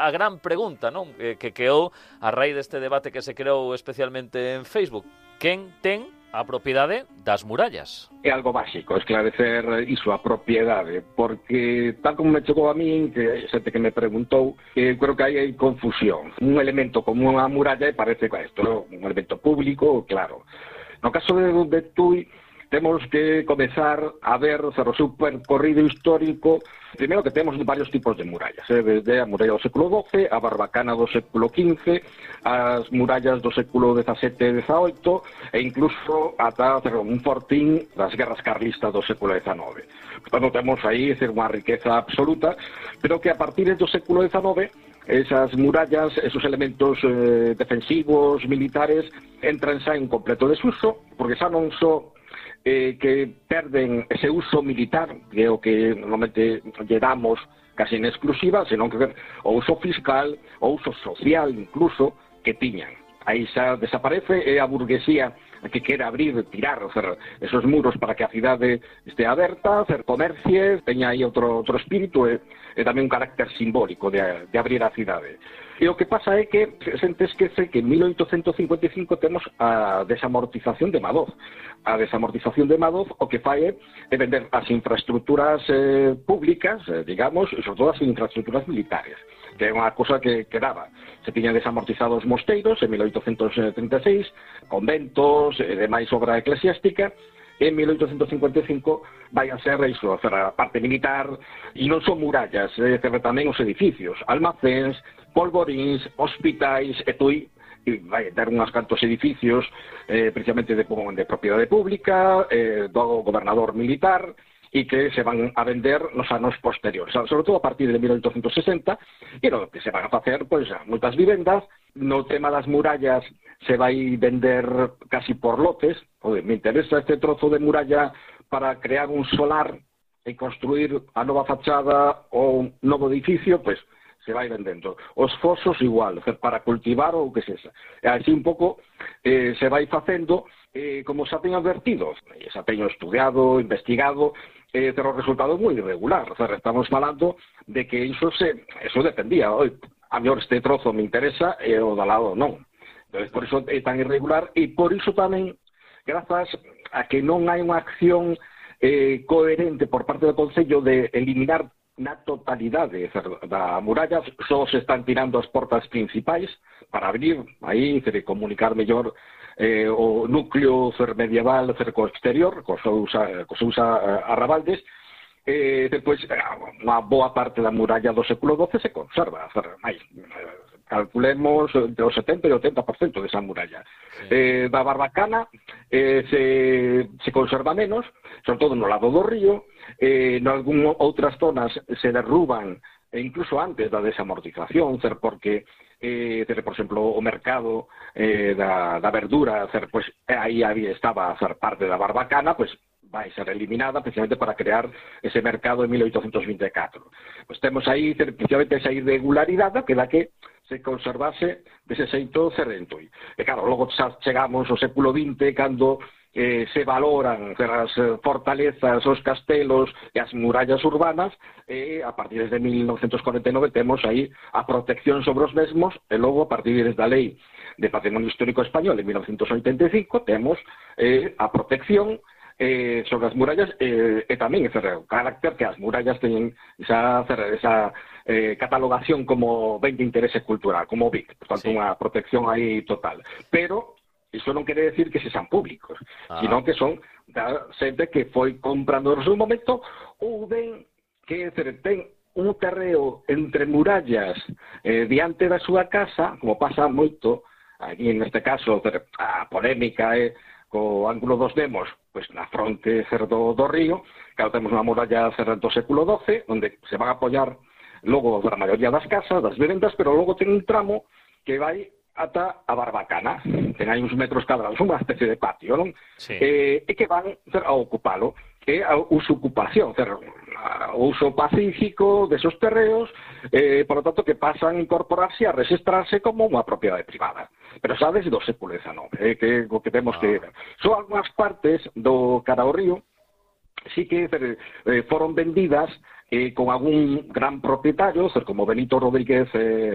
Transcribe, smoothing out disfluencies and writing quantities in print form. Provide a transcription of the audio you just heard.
a gran pregunta, non? Que queou a raíz deste debate que se creou especialmente en Facebook. Quen ten a propiedade das murallas? É algo básico esclarecer iso, a propiedade, porque tal como me chegou a min, que xente que me preguntou, creo que hai confusión. Un elemento como unha muralla parece que isto, un elemento público, claro. No caso de Tui, temos que comezar a ver o seu percorrido histórico. Primeiro que temos varios tipos de murallas, desde a muralla do século XII, a barbacana do século XV, as murallas do século XVII e XVIII, e incluso ata un fortín das guerras carlistas do século XIX. Portanto, temos aí unha riqueza absoluta, pero que a partir do século XIX esas murallas, esos elementos defensivos, militares, entran xa en completo desuso, porque xa non só que perden ese uso militar, que é o que normalmente lle damos casi en exclusiva, senón que o uso fiscal, o uso social incluso, que tiñan. Aí xa desaparece, é a burguesía que quere abrir, tirar esos muros para que a cidade este aberta, hacer comercies, teña aí outro espírito e tamén un carácter simbólico de abrir a cidade. E o que pasa é que a xente esquece que en 1855 temos a desamortización de Madoz. A desamortización de Madoz o que fai é vender as infraestructuras públicas, digamos, e sobre todo as infraestructuras militares, que é unha cosa que daba. Se tiñan desamortizado os mosteiros en 1836, conventos e demais obra eclesiástica. En 1855 vai a ser iso, a parte militar, e non son murallas, tamén os edificios, almacéns, polvoríns, hospitais, e Tui vai dar unhas cantos edificios precisamente de propiedade pública, do gobernador militar, e que se van a vender nos anos posteriores, sobre todo a partir de 1860, e no que se van a facer, pois, moitas vivendas. No tema das murallas se vai vender casi por lotes. Me interesa este trozo de muralla para crear un solar e construir a nova fachada ou un novo edificio, pois se vai vendendo. Os fosos igual, para cultivar ou que sexa. E así un pouco se vai facendo, como xa teño advertido, xa teño estudiado, investigado, pero o resultado é moi irregular. Estamos falando de que iso dependía. A mellor este trozo me interesa e o da lado non. Por iso é tan irregular e por iso tamén, grazas a que non hai unha acción coherente por parte do Concello de eliminar na totalidade da muralla, só se están tirando as portas principais para abrir aí, comunicar mellor o núcleo medieval co exterior, co seus arrabaldes. Depois, unha boa parte da muralla do século XII se conserva, calculemos entre o 70 e o 80% desa muralla. Da barbacana se conserva menos, sobre todo no lado do río. En algún outras zonas se derruban, incluso antes da desamortización, porque por exemplo, o mercado da verdura, pois aí estaba parte da barbacana, pois vai ser eliminada precisamente para crear ese mercado en 1824. Pois temos aí precisamente esa irregularidade que da que se conservase dese xeito Cerrentoi. E claro, logo chegamos ao século XX, cando se valoran as fortalezas, os castelos e as murallas urbanas, e a partir de 1949 temos aí a protección sobre os mesmos, e logo a partir da Lei de Patrimonio Histórico Español en 1985 temos a protección sobre as murallas, e tamén o carácter que as murallas teñen esa catalogación como ben de interese cultural, como BIC, por tanto unha protección aí total. Pero iso non quere decir que se sean públicos, sino que son da xente que foi comprando no seu momento, ou ben que ten un terreo entre murallas diante da súa casa, como pasa moito aquí neste caso, a polémica co ángulo dos Demos, pois na fronte do río, que temos unha muralla do século XII, onde se van a apoiar logo a maioría das casas, das vivendas, pero logo ten un tramo que vai ata a barbacana, ten aí uns metros cadrados, unha especie de patio, non? Sí. E que van a ocupalo, que é a usocupación, o uso pacífico desos terreos, por lo tanto que pasan a incorporarse a registrarse como unha propiedade privada. Pero xa desde o século XIX, que o que temos que ver. Son algunhas partes do cara ao río, sí que foron vendidas con algún gran propietario, como Benito Rodríguez